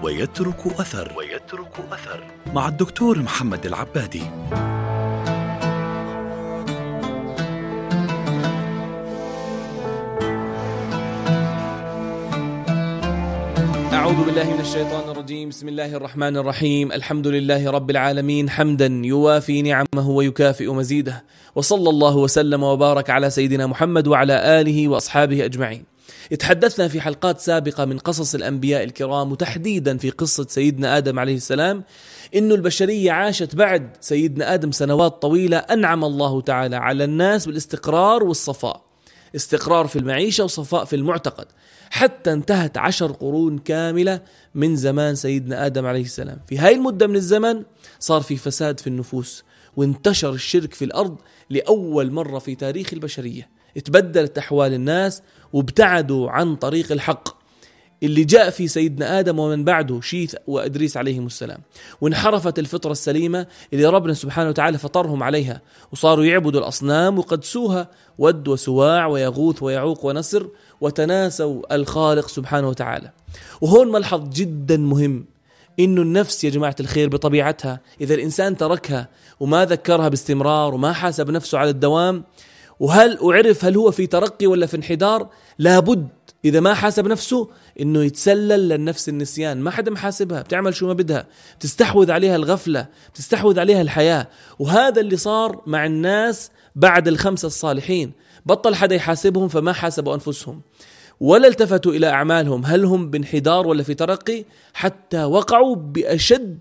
ويترك أثر مع الدكتور محمد العبادي. أعوذ بالله من الشيطان الرجيم. بسم الله الرحمن الرحيم. الحمد لله رب العالمين حمدا يوافي نعمه ويكافئ مزيده، وصلى الله وسلم وبارك على سيدنا محمد وعلى آله وأصحابه أجمعين. اتحدثنا في حلقات سابقة من قصص الأنبياء الكرام، وتحديدا في قصة سيدنا آدم عليه السلام، إنه البشرية عاشت بعد سيدنا آدم سنوات طويلة أنعم الله تعالى على الناس بالاستقرار والصفاء، استقرار في المعيشة وصفاء في المعتقد، حتى انتهت 10 قرون كاملة من زمان سيدنا آدم عليه السلام. في هاي المدة من الزمن صار في فساد في النفوس، وانتشر الشرك في الأرض لأول مرة في تاريخ البشرية. اتبدلت أحوال الناس وابتعدوا عن طريق الحق اللي جاء في سيدنا آدم ومن بعده شيث وإدريس عليهم السلام، وانحرفت الفطرة السليمة اللي ربنا سبحانه وتعالى فطرهم عليها، وصاروا يعبدوا الأصنام وقدسوها، ود وسواع ويغوث ويعوق ونسر، وتناسوا الخالق سبحانه وتعالى. وهون ملحظ جدا مهم، إنه النفس يا جماعة الخير بطبيعتها إذا الإنسان تركها وما ذكرها باستمرار وما حاسب نفسه على الدوام، وعرف هل هو في ترقي ولا في انحدار، لابد إذا ما حاسب نفسه إنه يتسلل للنفس النسيان. ما حدا محاسبها، بتعمل شو ما بدها، بتستحوذ عليها الغفلة، بتستحوذ عليها الحياة. وهذا اللي صار مع الناس بعد الخمسة الصالحين، بطل حدا يحاسبهم، فما حاسبوا أنفسهم ولا التفتوا إلى أعمالهم هل هم بانحدار ولا في ترقي، حتى وقعوا بأشد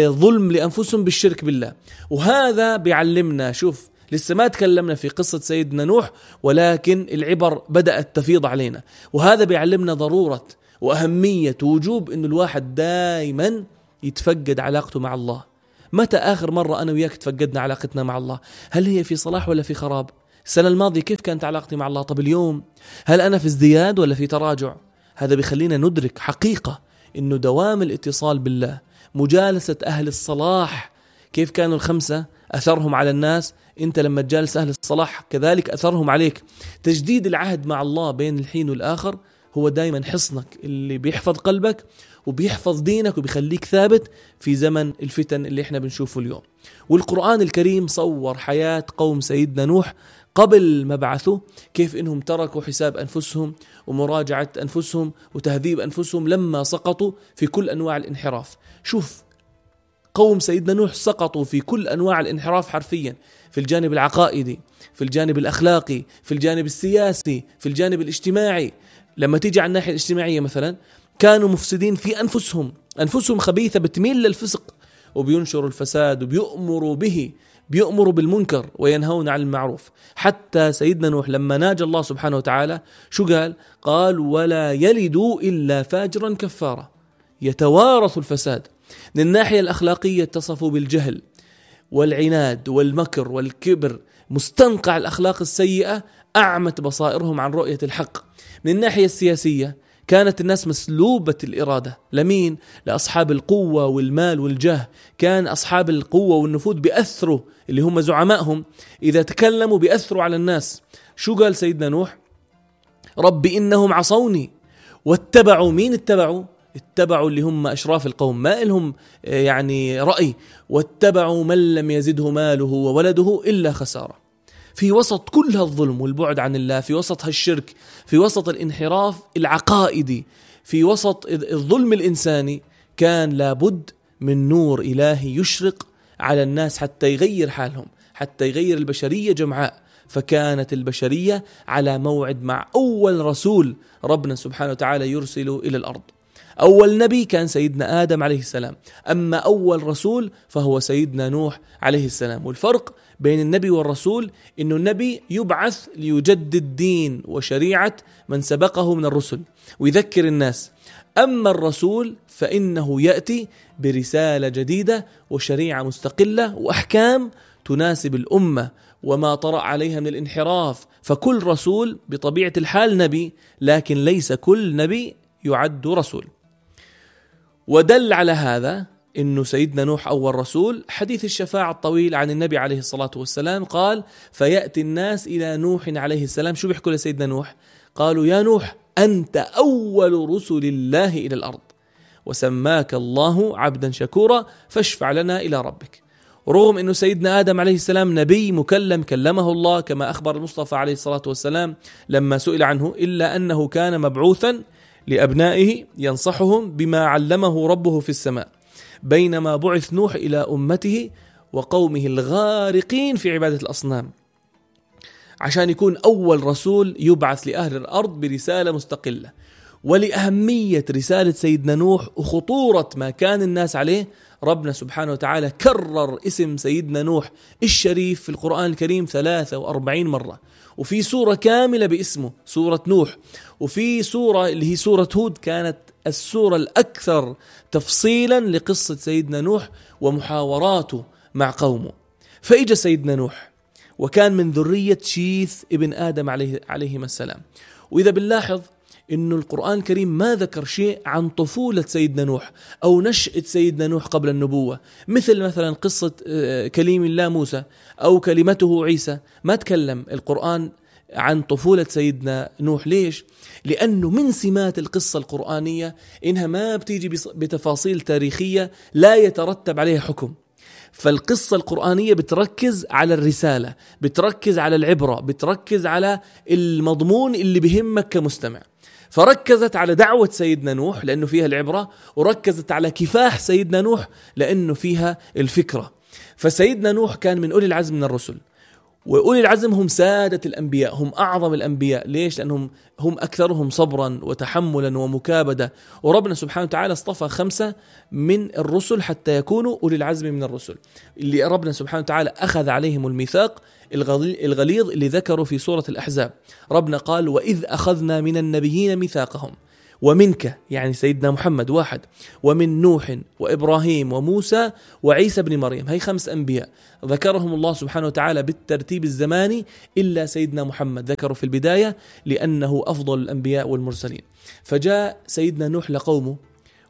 ظلم لأنفسهم بالشرك بالله. وهذا بيعلمنا، شوف لسه ما تكلمنا في قصة سيدنا نوح، ولكن العبر بدأت تفيض علينا، وهذا بيعلمنا ضرورة وأهمية ووجوب إنه الواحد دائما يتفقد علاقته مع الله. متى آخر مرة أنا وياك تفقدنا علاقتنا مع الله؟ هل هي في صلاح ولا في خراب؟ السنة الماضية كيف كانت علاقتي مع الله؟ طب اليوم هل أنا في ازدياد ولا في تراجع؟ هذا بيخلينا ندرك حقيقة إنه دوام الاتصال بالله، مجالسة أهل الصلاح، كيف كانوا الخمسة أثرهم على الناس، أنت لما تجالس أهل الصلاح كذلك أثرهم عليك. تجديد العهد مع الله بين الحين والآخر هو دايما حصنك اللي بيحفظ قلبك وبيحفظ دينك وبيخليك ثابت في زمن الفتن اللي احنا بنشوفه اليوم. والقرآن الكريم صور حياة قوم سيدنا نوح قبل مبعثه، كيف إنهم تركوا حساب أنفسهم ومراجعة أنفسهم وتهذيب أنفسهم لما سقطوا في كل أنواع الانحراف. شوف قوم سيدنا نوح سقطوا في كل أنواع الانحراف حرفيا، في الجانب العقائدي، في الجانب الأخلاقي، في الجانب السياسي، في الجانب الاجتماعي. لما تيجي على الناحية الاجتماعية مثلا، كانوا مفسدين في أنفسهم خبيثة بتميل للفسق، وبينشروا الفساد بيؤمروا بالمنكر وينهون عن المعروف. حتى سيدنا نوح لما ناجى الله سبحانه وتعالى شو قال ولا يلدوا إلا فاجرا كفارا، يتوارث الفساد. من الناحية الأخلاقية اتصفوا بالجهل والعناد والمكر والكبر، مستنقع الأخلاق السيئة أعمت بصائرهم عن رؤية الحق. من الناحية السياسية كانت الناس مسلوبة الإرادة. لمين؟ لأصحاب القوة والمال والجاه. كان أصحاب القوة والنفوذ بيأثروا، اللي هم زعمائهم، إذا تكلموا بيأثروا على الناس. شو قال سيدنا نوح؟ رب إنهم عصوني واتبعوا. مين اتبعوا اللي هم أشراف القوم، ما لهم يعني رأي، واتبعوا من لم يزده ماله وولده إلا خسارة. في وسط كل هالظلم والبعد عن الله، في وسط هالشرك، في وسط الانحراف العقائدي، في وسط الظلم الإنساني، كان لابد من نور إلهي يشرق على الناس حتى يغير حالهم، حتى يغير البشرية جمعاء. فكانت البشرية على موعد مع أول رسول ربنا سبحانه وتعالى يرسله إلى الأرض. أول نبي كان سيدنا آدم عليه السلام، أما أول رسول فهو سيدنا نوح عليه السلام. والفرق بين النبي والرسول إنه النبي يبعث ليجدد دين وشريعة من سبقه من الرسل ويذكر الناس، أما الرسول فإنه يأتي برسالة جديدة وشريعة مستقلة وأحكام تناسب الأمة وما طرأ عليها من الانحراف. فكل رسول بطبيعة الحال نبي، لكن ليس كل نبي يعد رسول. ودل على هذا إنه سيدنا نوح أول رسول. حديث الشفاعة الطويل عن النبي عليه الصلاة والسلام قال فيأتي الناس إلى نوح عليه السلام. شو بيحكوا لسيدنا نوح؟ قالوا يا نوح أنت أول رسل الله إلى الأرض. وسماك الله عبدا شكورا فاشفع لنا إلى ربك. رغم أنه سيدنا آدم عليه السلام نبي مكلم كلمه الله كما أخبر المصطفى عليه الصلاة والسلام لما سئل عنه، إلا أنه كان مبعوثا لأبنائه ينصحهم بما علمه ربه في السماء، بينما بعث نوح إلى أمته وقومه الغارقين في عبادة الأصنام عشان يكون أول رسول يبعث لأهل الأرض برسالة مستقلة. ولأهمية رسالة سيدنا نوح وخطورة ما كان الناس عليه، ربنا سبحانه وتعالى كرر اسم سيدنا نوح الشريف في القرآن الكريم 43 مرة، وفي سورة كاملة باسمه سورة نوح، وفي سورة اللي هي سورة هود كانت السورة الأكثر تفصيلا لقصة سيدنا نوح ومحاوراته مع قومه. فإجا سيدنا نوح وكان من ذرية شيث ابن آدم عليهما السلام. وإذا بنلاحظ إنه القرآن الكريم ما ذكر شيء عن طفولة سيدنا نوح أو نشأة سيدنا نوح قبل النبوة، مثلا قصة كليم الله موسى أو كلمته عيسى، ما تكلم القرآن عن طفولة سيدنا نوح. ليش؟ لأنه من سمات القصة القرآنية إنها ما بتيجي بتفاصيل تاريخية لا يترتب عليها حكم. فالقصة القرآنية بتركز على الرسالة، بتركز على العبرة، بتركز على المضمون اللي بهمك كمستمع. فركزت على دعوة سيدنا نوح لأنه فيها العبرة، وركزت على كفاح سيدنا نوح لأنه فيها الفكرة. فسيدنا نوح كان من أولي العزم من الرسل، وأولي العزم هم سادة الأنبياء، هم أعظم الأنبياء. ليش؟ لأنهم هم أكثرهم صبرا وتحملا ومكابدة. وربنا سبحانه وتعالى اصطفى 5 من الرسل حتى يكونوا أولي العزم من الرسل، اللي ربنا سبحانه وتعالى أخذ عليهم الميثاق الغليظ اللي ذكروا في سورة الأحزاب. ربنا قال: وإذ أخذنا من النبيين ميثاقهم ومنك، يعني سيدنا محمد 1، ومن نوح وإبراهيم وموسى وعيسى بن مريم. هي 5 أنبياء ذكرهم الله سبحانه وتعالى بالترتيب الزماني، إلا سيدنا محمد ذكره في البداية لأنه أفضل الأنبياء والمرسلين. فجاء سيدنا نوح لقومه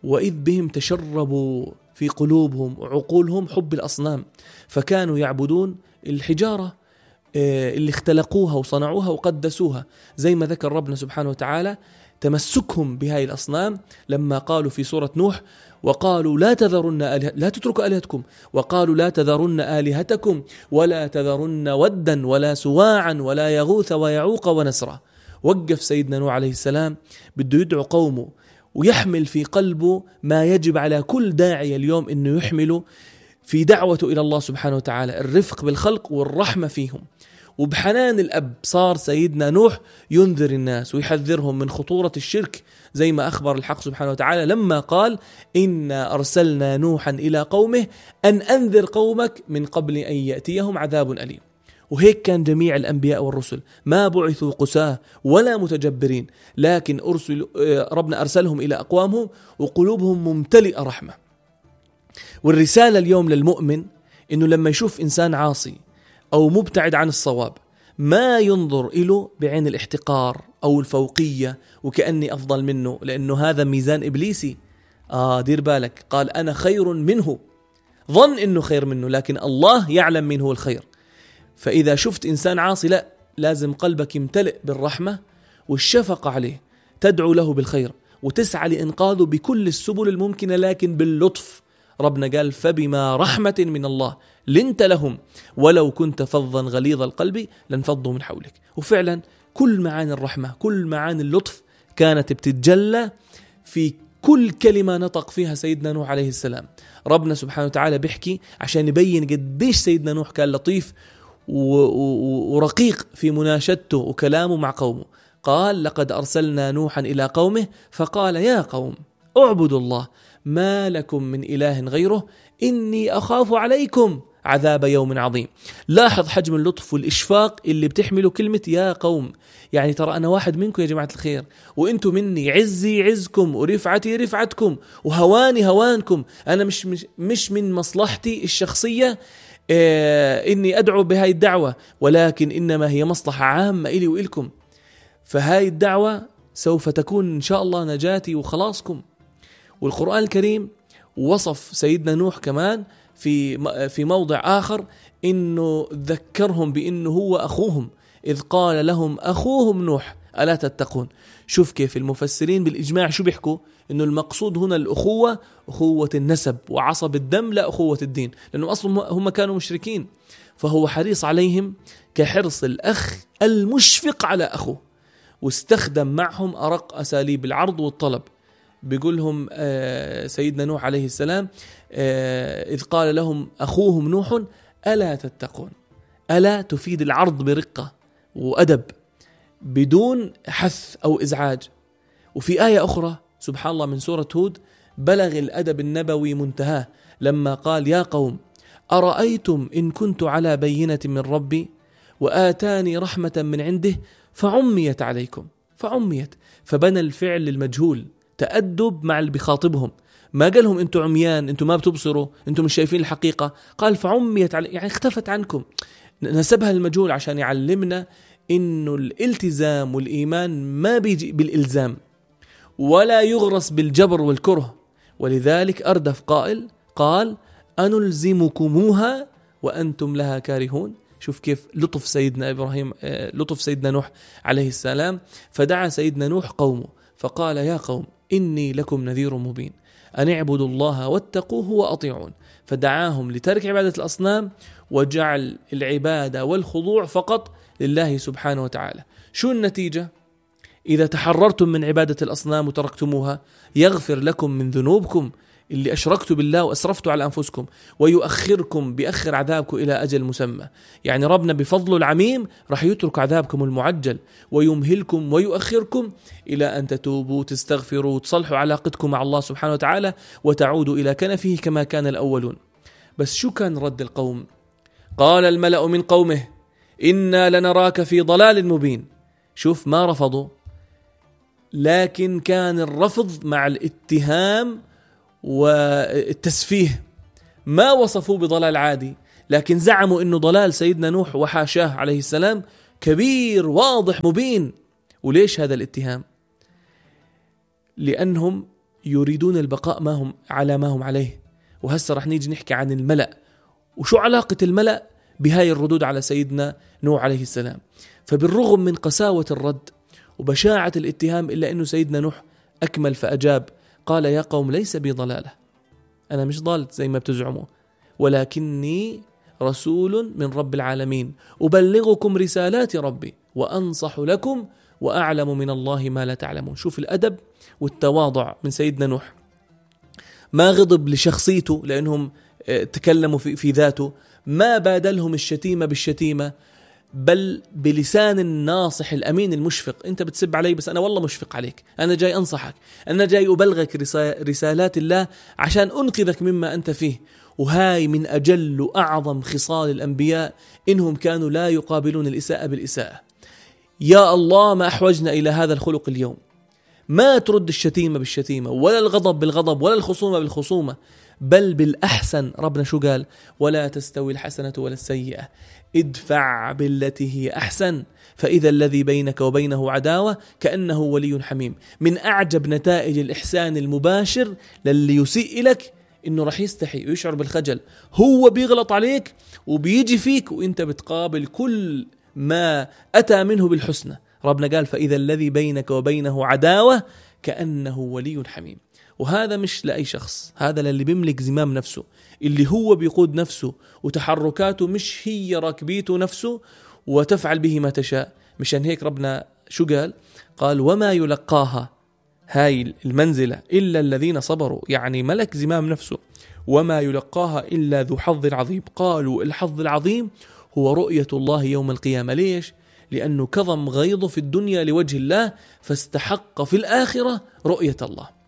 وإذ بهم تشربوا في قلوبهم وعقولهم حب الأصنام، فكانوا يعبدون الحجارة اللي اختلقوها وصنعوها وقدسوها، زي ما ذكر ربنا سبحانه وتعالى تمسكهم بهاي الأصنام لما قالوا في سورة نوح: وقالوا لا تتركوا آلهتكم، وقالوا لا تذرن آلهتكم ولا تذرن ودا ولا سواعا ولا يغوث ويعوق ونسرا. وقف سيدنا نوح عليه السلام بده يدعو قومه ويحمل في قلبه ما يجب على كل داعية اليوم إنه يحمله في دعوته إلى الله سبحانه وتعالى: الرفق بالخلق والرحمة فيهم. وبحنان الأب صار سيدنا نوح ينذر الناس ويحذرهم من خطورة الشرك، زي ما أخبر الحق سبحانه وتعالى لما قال: إنا أرسلنا نوحا إلى قومه أن أنذر قومك من قبل أن يأتيهم عذاب أليم. وهيك كان جميع الأنبياء والرسل، ما بعثوا قساة ولا متجبرين، لكن ربنا أرسلهم إلى أقوامهم وقلوبهم ممتلئة رحمة. والرسالة اليوم للمؤمن إنه لما يشوف إنسان عاصي أو مبتعد عن الصواب ما ينظر إله بعين الاحتقار أو الفوقية وكأني أفضل منه، لأنه هذا ميزان إبليسي. دير بالك، قال أنا خير منه، ظن إنه خير منه، لكن الله يعلم من هو الخير. فإذا شفت إنسان عاصي، لا، لازم قلبك يمتلئ بالرحمة والشفقة عليه، تدعو له بالخير وتسعى لإنقاذه بكل السبل الممكنة، لكن باللطف. ربنا قال: فبما رحمة من الله لنت لهم ولو كنت فظا غليظ القلب لانفضوا من حولك. وفعلا كل معاني الرحمة، كل معاني اللطف كانت بتتجلى في كل كلمة نطق فيها سيدنا نوح عليه السلام. ربنا سبحانه وتعالى بيحكي عشان يبين قديش سيدنا نوح كان لطيف ورقيق في مناشدته وكلامه مع قومه. قال: لقد أرسلنا نوحا إلى قومه فقال يا قوم اعبدوا الله ما لكم من إله غيره إني أخاف عليكم عذاب يوم عظيم. لاحظ حجم اللطف والإشفاق اللي بتحمله كلمة يا قوم، يعني ترى أنا واحد منكم يا جماعة الخير، وإنتم مني، عزي عزكم ورفعتي رفعتكم وهواني هوانكم. أنا مش من مصلحتي الشخصية إني أدعو بهاي الدعوة، ولكن إنما هي مصلحة عامة إلي وإلكم. فهاي الدعوة سوف تكون إن شاء الله نجاتي وخلاصكم. والقرآن الكريم وصف سيدنا نوح كمان في موضع آخر إنه ذكرهم بإنه هو أخوهم، إذ قال لهم أخوهم نوح ألا تتقون. شوف كيف المفسرين بالإجماع شو بيحكوا؟ إنه المقصود هنا الأخوة، أخوة النسب وعصب الدم، لا أخوة الدين، لأنه أصلا هم كانوا مشركين، فهو حريص عليهم كحرص الأخ المشفق على أخوه، واستخدم معهم أرق أساليب العرض والطلب. بيقولهم سيدنا نوح عليه السلام إذ قال لهم أخوهم نوح ألا تتقون. ألا تفيد العرض برقة وأدب بدون حث أو إزعاج. وفي آية أخرى سبحان الله من سورة هود بلغ الأدب النبوي منتهاه لما قال يا قوم أرأيتم إن كنت على بينة من ربي وآتاني رحمة من عنده فعميت عليكم. فعميت، فبنى الفعل للمجهول، تأدب مع اللي بيخاطبهم. ما قالهم أنتم عميان، أنتم ما بتبصروا، أنتم مش شايفين الحقيقة. قال فعميت يعني اختفت عنكم، نسبها للمجهول عشان يعلمنا إنه الالتزام والإيمان ما بيجي بالإلزام ولا يغرس بالجبر والكره. ولذلك أردف قائل قال أنلزمكموها وأنتم لها كارهون. شوف كيف لطف سيدنا إبراهيم، لطف سيدنا نوح عليه السلام. فدعا سيدنا نوح قومه فقال يا قوم إني لكم نذير مبين أن اعبدوا الله واتقوه وأطيعون. فدعاهم لترك عبادة الأصنام وجعل العبادة والخضوع فقط لله سبحانه وتعالى. شو النتيجة؟ إذا تحررتم من عبادة الأصنام وتركتموها يغفر لكم من ذنوبكم اللي أشركتوا بالله وأسرفتوا على أنفسكم، ويؤخركم بأخر عذابكم إلى أجل مسمى. يعني ربنا بفضله العميم رح يترك عذابكم المعجل ويمهلكم ويؤخركم إلى أن تتوبوا تستغفروا وتصلحوا علاقتكم مع الله سبحانه وتعالى وتعودوا إلى كنفه كما كان الأولون. بس شو كان رد القوم؟ قال الملأ من قومه إنا لنراك في ضلال مبين. شوف ما رفضوا، لكن كان الرفض مع الاتهام والتسفيه. ما وصفوه بضلال عادي، لكن زعموا إنه ضلال سيدنا نوح وحاشاه عليه السلام كبير واضح مبين. وليش هذا الاتهام؟ لأنهم يريدون البقاء ما هم على ما هم عليه. وهسه رح نيجي نحكي عن الملأ وشو علاقة الملأ بهاي الردود على سيدنا نوح عليه السلام. فبالرغم من قساوة الرد وبشاعة الاتهام إلا أنه سيدنا نوح أكمل فأجاب قال يا قوم ليس بي ضلالة، أنا مش ضال زي ما بتزعموا، ولكني رسول من رب العالمين أبلغكم رسالات ربي وأنصح لكم وأعلم من الله ما لا تعلمون. شوف الأدب والتواضع من سيدنا نوح. ما غضب لشخصيته لأنهم تكلموا في ذاته، ما بادلهم الشتيمة بالشتيمة، بل بلسان الناصح الأمين المشفق. أنت بتسب علي بس أنا والله مشفق عليك، أنا جاي أنصحك، أنا جاي أبلغك رسالات الله عشان أنقذك مما أنت فيه. وهاي من أجل وأعظم خصال الأنبياء، إنهم كانوا لا يقابلون الإساءة بالإساءة. يا الله ما أحوجنا إلى هذا الخلق اليوم. ما ترد الشتيمة بالشتيمة ولا الغضب بالغضب ولا الخصومة بالخصومة، بل بالأحسن. ربنا شو قال؟ ولا تستوي الحسنة ولا السيئة ادفع بالتي هي أحسن فإذا الذي بينك وبينه عداوة كأنه ولي حميم. من أعجب نتائج الإحسان المباشر للي يسيء إليك إنه رح يستحي ويشعر بالخجل. هو بيغلط عليك وبيجي فيك وإنت بتقابل كل ما أتى منه بالحسنى. ربنا قال فإذا الذي بينك وبينه عداوة كأنه ولي حميم. وهذا مش لأي شخص، هذا للي بيملك زمام نفسه، اللي هو بيقود نفسه وتحركاته مش هي راكبيته نفسه وتفعل به ما تشاء. مشان هيك ربنا شو قال؟ قال وما يلقاها، هاي المنزلة، إلا الذين صبروا، يعني ملك زمام نفسه. وما يلقاها إلا ذو حظ عظيم. قالوا الحظ العظيم هو رؤية الله يوم القيامة. ليش؟ لأنه كظم غيظه في الدنيا لوجه الله فاستحق في الآخرة رؤية الله.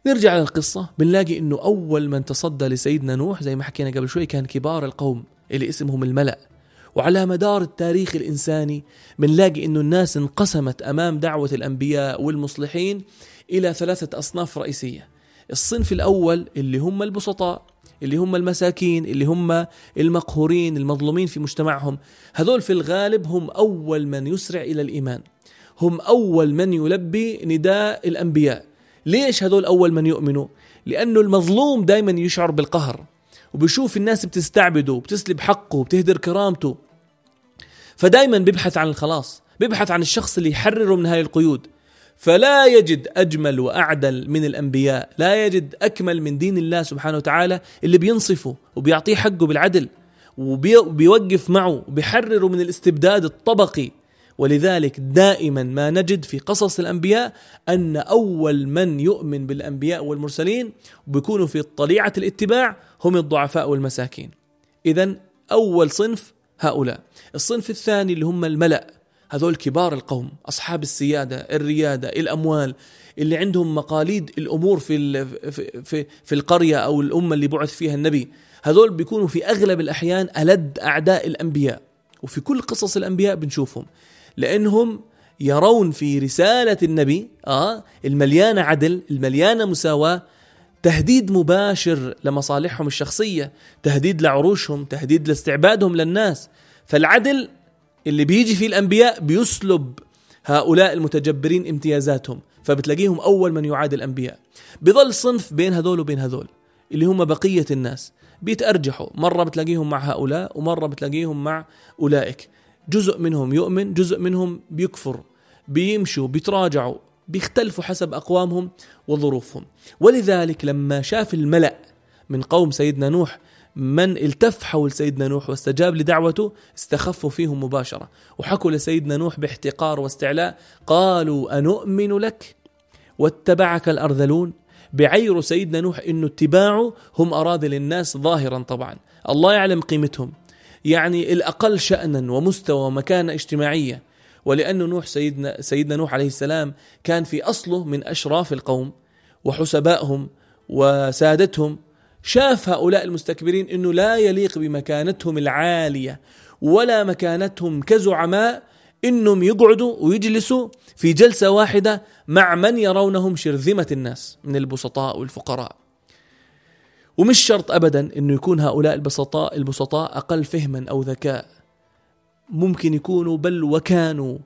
نرجع للقصة، بنلاقي إنه أول من تصدى لسيدنا نوح زي ما حكينا قبل شوي كان كبار القوم اللي اسمهم الملأ. وعلى مدار التاريخ الإنساني بنلاقي إنه الناس انقسمت أمام دعوة الأنبياء والمصلحين إلى 3 أصناف رئيسية. الصنف الأول اللي هم البسطاء، اللي هم المساكين، اللي هم المقهورين المظلومين في مجتمعهم. هذول في الغالب هم أول من يسرع إلى الإيمان، هم أول من يلبي نداء الأنبياء. ليش هذول أول من يؤمنوا؟ لأنه المظلوم دايما يشعر بالقهر وبيشوف الناس بتستعبده وبتسلب حقه وبتهدر كرامته، فدايما بيبحث عن الخلاص، بيبحث عن الشخص اللي يحرره من هاي القيود. فلا يجد أجمل وأعدل من الأنبياء، لا يجد أكمل من دين الله سبحانه وتعالى اللي بينصفه وبيعطيه حقه بالعدل وبيوقف معه وبيحرره من الاستبداد الطبقي. ولذلك دائما ما نجد في قصص الأنبياء أن أول من يؤمن بالأنبياء والمرسلين وبيكونوا في طليعة الاتباع هم الضعفاء والمساكين. إذن أول صنف هؤلاء. الصنف الثاني اللي هم الملأ، هذول كبار القوم، أصحاب السيادة، الريادة، الأموال، اللي عندهم مقاليد الأمور في القرية أو الأمة اللي بعث فيها النبي. هذول بيكونوا في أغلب الأحيان ألد أعداء الأنبياء، وفي كل قصص الأنبياء بنشوفهم، لأنهم يرون في رسالة النبي المليانة عدل، المليانة مساواة، تهديد مباشر لمصالحهم الشخصية، تهديد لعروشهم، تهديد لاستعبادهم للناس. فالعدل اللي بيجي فيه الأنبياء بيسلب هؤلاء المتجبرين امتيازاتهم، فبتلاقيهم أول من يعادي الأنبياء. بظل صنف بين هذول وبين هذول اللي هم بقية الناس، بيتأرجحوا، مرة بتلاقيهم مع هؤلاء ومرة بتلاقيهم مع أولئك. جزء منهم يؤمن، جزء منهم بيكفر، بيمشوا، بيتراجعوا، بيختلفوا حسب أقوامهم وظروفهم. ولذلك لما شاف الملأ من قوم سيدنا نوح من التف حول سيدنا نوح واستجاب لدعوته، استخفوا فيهم مباشرة وحكوا لسيدنا نوح باحتقار واستعلاء، قالوا أنؤمن لك واتبعك الأرذلون. بعير سيدنا نوح إنه اتباعه هم أراذل الناس ظاهرا، طبعا الله يعلم قيمتهم، يعني الأقل شأنا ومستوى ومكانة اجتماعية. ولأنه نوح سيدنا نوح عليه السلام كان في أصله من أشراف القوم وحسبائهم وسادتهم، شاف هؤلاء المستكبرين إنه لا يليق بمكانتهم العالية ولا مكانتهم كزعماء إنهم يقعدوا ويجلسوا في جلسة واحدة مع من يرونهم شرذمة الناس من البسطاء والفقراء. ومش شرط أبدا إنه يكون هؤلاء البسطاء أقل فهما أو ذكاء، ممكن يكونوا بل وكانوا